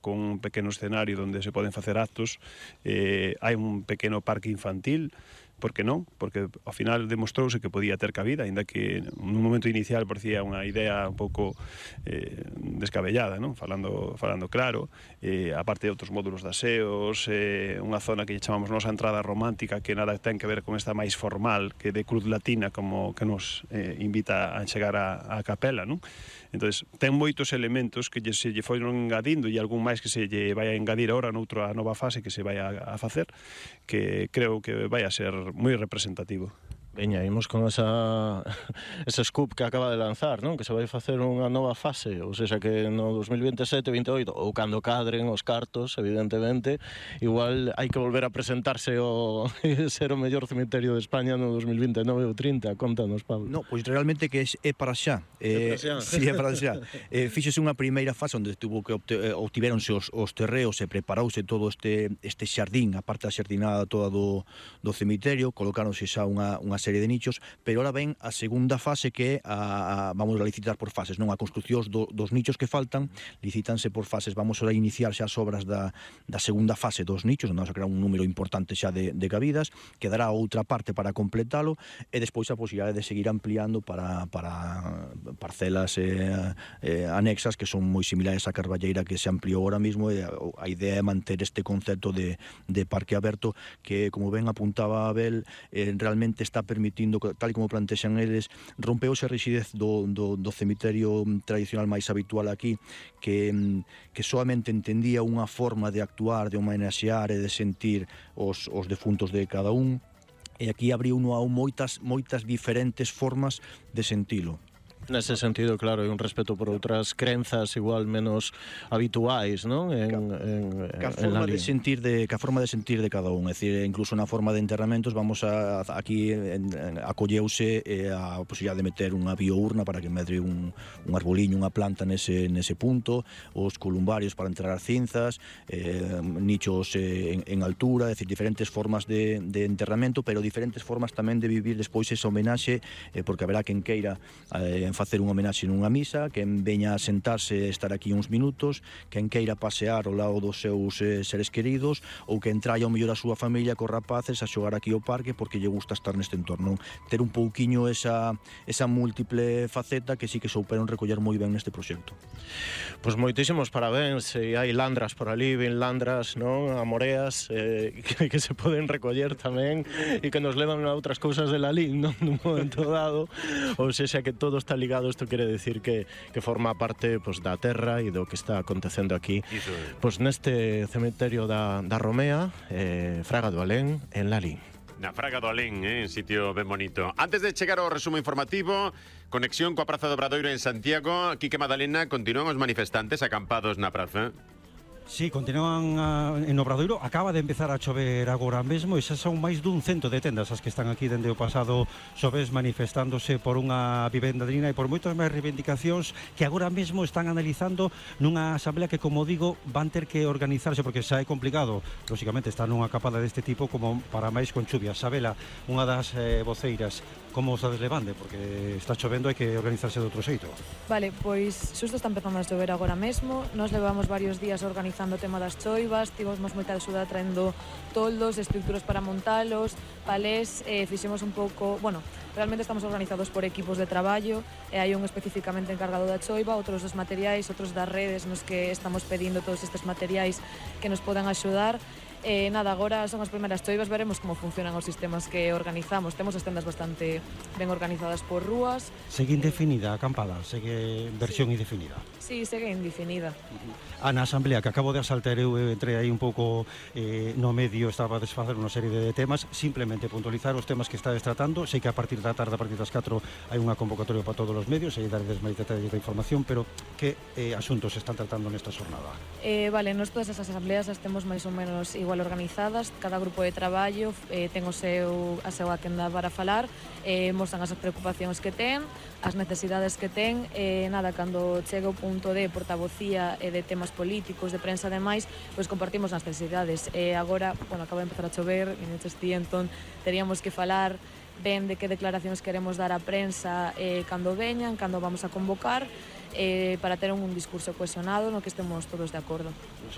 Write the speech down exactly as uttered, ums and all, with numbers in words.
con un pequeno escenario onde se poden facer actos, eh, hai un pequeno parque infantil, por que non? Porque ao final demostrouse que podía ter cabida, aínda que nun momento inicial parecía unha idea un pouco eh, descabellada, non? Falando, falando claro, eh, aparte de outros módulos de aseos, eh, unha zona que chamamos nosa entrada romántica que nada ten que ver con esta máis formal que de cruz latina como que nos eh, invita a chegar a, a capela, non? Entonces, ten moitos elementos que lle, se lle foron engadindo e algún máis que se lle vai a engadir agora noutra nova fase que se vai a, a facer, que creo que vai a ser moi representativo. Veña, imos con esa ese scoop que acaba de lanzar, non? Que se vai facer unha nova fase, ou seja, que no dos mil veintesete, veintioito, ou cando cadren os cartos, evidentemente, igual hai que volver a presentarse o ser o mellor cemiterio de España no dos mil veintenove ou trinta. Contanos, Pablo. No, pois realmente que é para xa. É para xa. Sí, é para xa. eh, Fíxose unha primeira fase onde tuvo que obtiveronse os, os terreos e preparouse todo este este xardín, a parte da xardinada toda do, do cemiterio, colocáronse xa unha, unha serie de nichos, pero ahora ven a segunda fase que a, a, vamos a licitar por fases, non? A construcción do, dos nichos que faltan, licítanse por fases. Vamos a iniciar xa as obras da, da segunda fase dos nichos, onde vamos a crear un número importante xa de, de cabidas, quedará outra parte para completalo, e despois a posibilidade de seguir ampliando para, para parcelas eh, eh, anexas que son moi similares á Carballeira que se ampliou ahora mismo, e a, a idea é manter este concepto de, de parque aberto que, como ben apuntaba Abel, eh, realmente está permitindo, tal como plantexan eles, rompeuse a rigidez do, do, do cemiterio tradicional máis habitual aquí, que, que solamente entendía unha forma de actuar, de homenaxear e de sentir os, os defuntos de cada un, e aquí abriu uno a moitas, moitas diferentes formas de sentilo. Nese sentido, claro, hai un respeto por outras crenzas igual menos habituais, non? En, en, Ca forma en de sentir de, ca forma de sentir de cada un, é dicir, incluso na forma de enterramentos vamos a, aquí en, en, acolleuse eh, a posibilidade de meter unha biourna para que medre un, un arboliño, unha planta nese, nese punto, os columbarios para enterrar cinzas, eh, nichos eh, en, en altura, é dicir, diferentes formas de, de enterramento, pero diferentes formas tamén de vivir despois esa homenaxe, eh, porque haberá quen queira eh, facer unha homenaxe nunha misa, quen veña a sentarse e estar aquí uns minutos, quen queira pasear ao lado dos seus eh, seres queridos, ou quen traia ao mellor a súa familia cos rapaces a xogar aquí ao parque porque lle gusta estar neste entorno. Ter un pouquiño esa, esa múltiple faceta que sí que souperon recoller moi ben neste proxecto. Pois moitísimos parabéns, e hai landras por ali, ben landras, non? Amoreas, eh, que, que se poden recoller tamén e que nos levan a outras cousas de la Lin, non? Nun momento dado, ou sexa que todo está ligado. Isto quere decir que, que forma parte pues, da terra e do que está acontecendo aquí pues, neste cemiterio da, da Romea, eh, Fraga do Alén, en Lalín. Na Fraga do Alén, eh, un sitio ben bonito. Antes de chegar ao resumo informativo, conexión coa Praza do Obradoiro en Santiago, Quique Madalena, continúan os manifestantes acampados na praza. Sí, continúan a, en Obradoiro. Acaba de empezar a chover agora mesmo e xa son máis dun cento de tendas as que están aquí dende o pasado xoves manifestándose por unha vivenda digna e por moitas máis reivindicacións que agora mesmo están analizando nunha asamblea que, como digo, van ter que organizarse porque xa é complicado, lóxicamente, estar nunha capada deste tipo como para máis con chuvias. Sabela, unha das eh, voceiras, como os deslevande? Porque está chovendo, hai que organizarse de outro xeito. Vale, pois xusto está empezando a chover agora mesmo. Nos levamos varios días organizando o tema das choivas, tivemos moita axuda traendo toldos, estructuras para montalos, palés, eh, fixemos un pouco, bueno, realmente estamos organizados por equipos de traballo, e hai un especificamente encargado da choiva, outros dos materiais, outros das redes nos que estamos pedindo todos estes materiais que nos podan axudar. Eh, nada, agora son as primeiras choivas, veremos como funcionan os sistemas que organizamos. Temos as tendas bastante ben organizadas por rúas. Segue indefinida a acampada, segue versión sí. indefinida. Sí, segue indefinida. A na asamblea que acabo de asaltar eu entrei aí un pouco eh, no medio, estaba a desfacer unha serie de temas, simplemente puntualizar os temas que estades tratando. Sei que a partir da tarde, a partir das catro, hai unha convocatoria para todos os medios e darles máis detalles da información, pero que eh, asuntos se están tratando nesta xornada? Eh, vale, nos todas as asambleas as temos máis ou menos igual organizadas, cada grupo de traballo eh, ten o seu, a súa quenda para falar, eh, mostran as preocupacións que ten, as necesidades que ten, e eh, nada, cando chega o punto de portavocía e de temas políticos, de prensa e demais, pois compartimos as necesidades. E eh, agora, bueno, acaba de empezar a chover, e neches ti, entón, teríamos que falar ben de que declaracións queremos dar á prensa eh, cando veñan, cando vamos a convocar. eh, para ter un discurso cohesionado no que estemos todos de acordo.